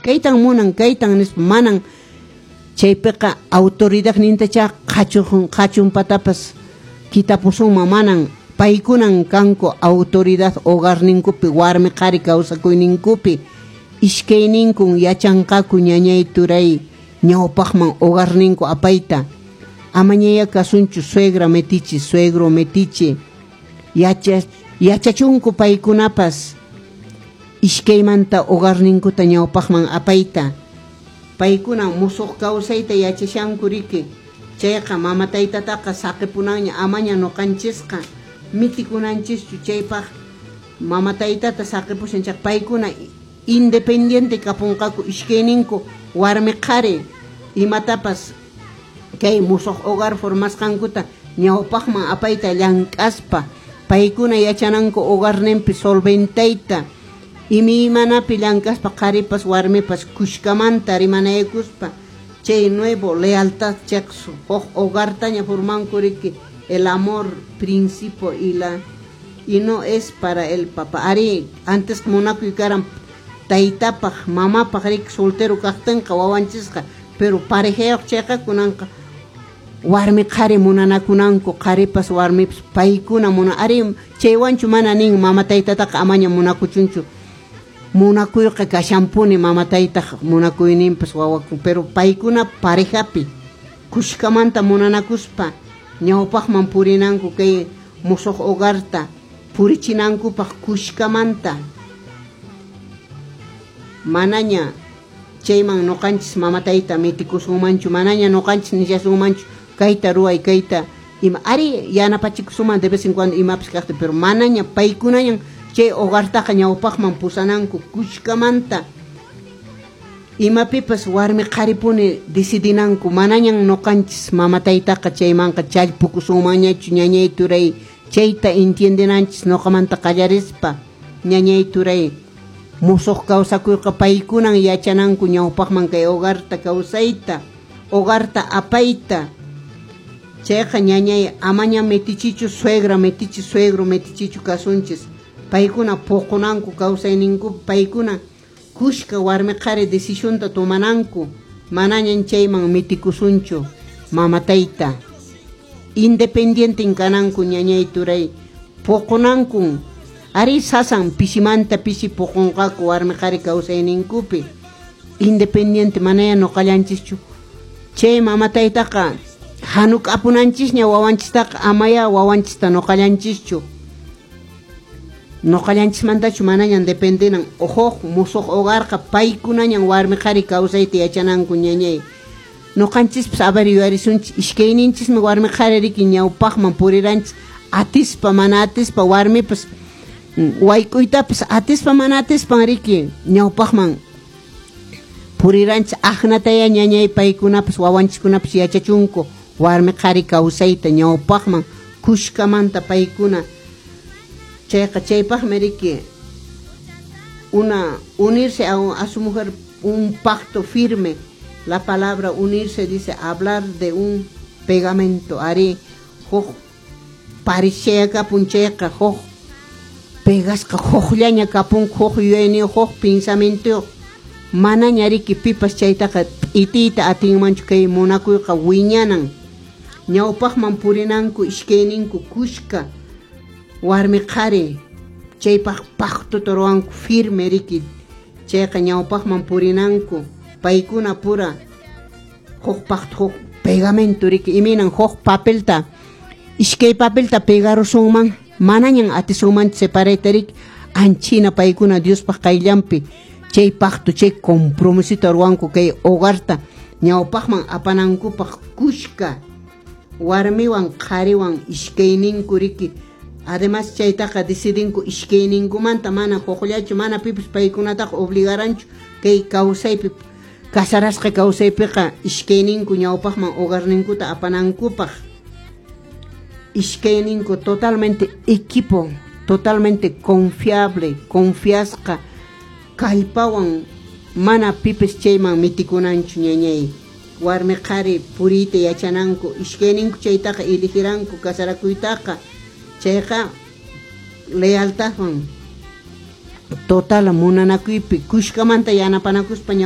Kaytan munan, kaytan nispa manan chaypiqa autoridadnintacha qhachunpatapas kitapusunman, manan paykunan kanku autoridad hogarninkupi, warmi qhari kawsakuyninkupi. Iskayninkun yachanqaku ñañay turay ñawpaqman hogarninku apayta. Amañaya kasunchu suegra metiche, suegro metiche. Yachachunku paykunapas iskaymanta hogarninkuta ñawpaqman apayta. Paykuna musuq kawsayta yachashanku riki. Chayqa mama taytataqa saqipunanña, amaña nuqanchisqa mitikunanchischu chaypaq mama taytata saqipushan chayqa paykuna independiente kapunqaku iskayninku warmi qhari imatapas kay musuq hogar formasqankuta ñawpaqman apayta llank'aspa paykuna yachananku hogarninpi solventayta imaymanapi llank'aspa qharipas warmipas kushkamanta rimanaykuspa chay nuevo lealtad chayqa huk hogartaña formanku riki el amor principio y la y no es para el papá. Ari antes munakuy karan taytapaq mamapaq riki soltero kaqtinqa wawanchisqa, pero parejayuq chayqa kunanqa warmi qhari munanakunanku, qharipas warmipas paykuna muna. Ari chaywanchu mana nin mama taytataqa amaña munakuchunchu, munakuyqa kashanpuni mama taytaq munakuyninpas wawaku, pero paykuna parejapi kushkamanta munanakuspa ñawpaqman purinanku kay musuq hogarta purichinankupaq kushkamanta. Manaña chayman nuqanchis mama tayta mitikusunmanchu, manaña nuqanchis nishasunmanchu kayta ruway kayta ima. Ari yanapachikusunman de vez en cuando imapas kaqta, pero manaña paykunañan chay hogartaqa ñawpaqman pusananku kushkamanta. Imapipas warmi qharipuni decidinanku, manañan nuqanchis mama taytaqa chaymanqa challpukusunmanñachu ñañay turay. Chayta entiendenanchis nuqamanta qallarispa ñañay turay. Musuq kawsakuyqa paykunan yachananku ñawpaqman kay hogarta kawsayta, hogarta apayta. Chayqa ñañay amaña metichichu suegra metichi, suegro metichichu kasunchis. Paykuna puqunanku kawsayninku, paykuna kushka warmi qhari decisionta tomananku, manañan chayman mitikusunchu mama tayta. Independiente kananku ñañay turay, puqunankun. Ari sasan pisimanta pisi puqunqaku warmi qhari kawsayninkupi. Independiente manaya nuqallanchischu. Chay mama taytaqa hanuk'apunanchisña wawanchistaqa, amaya wawanchista nuqallanchischu. Nuqallanchismantachu manañan dependenan. Huk musuq hogarqa paykunañan warmi qhari kawsayta yachananku ñañay. Nuqanchispas a ver yuyarisunchis, iskayninchismi warmi qhari riki ñawpaqman puriranchis atispa mana atispa, warmipas wayk'uytapas atispa mana atispan riki ñawpaqman puriranchis. Aqnataya ñañay paykunapas wawanchiskunapas yachachunku warmi qhari kawsayta ñawpaqman kushkamanta paykuna. Chayqa chaypaqmi riki una unirse a su mujer, un pacto firme. La palabra unirse dice hablar de un pegamento. Ari huk parishaya kapun chayqa huk pegasqa hukllaña kapunku, huk yuyayniyuq, huk pensamientoyuq. Manaña riki pipas chaytaqa p'itiyta atinmanchu kay munakuyqa wiñanan. Ñawpaqman purinanku iskayninku kushka warmi qhari chaypaq pactota ruwanku firme riki. Chayqa ñawpaqman purinanku paykuna pura huk pacto, huk pegamento riki. Imaynan huk papelta iskay papelta pegarusunman manañan atisunmanchu separayta riki. Anchina paykuna Diospaq qayllanpi chay pacto, chay compromisota ruwanku kay hogarta ñawpaqman apanankupaq kushka warmiwan qhariwan iskayninku riki. Además chaytaqa decidinku iskayninkumanta, mana hukllachu, mana pipas paykunataqa obligaranchu kay kawsaypi casarasqa kawsaypiqa iskayninku ñawpaqman hogarninkuta apanankupaq. Iskayninku totalmente equipo, totalmente confiable, confiasqa kallpawan mana pipis chayman mitikunanchu ñañay. Warmi qhari puriyta yachananku, iskayninku chaytaqa eligiranku casarakuytaqa. Chayqa lealtadwan total munanakuypi kushkamanta yanapanakuspa.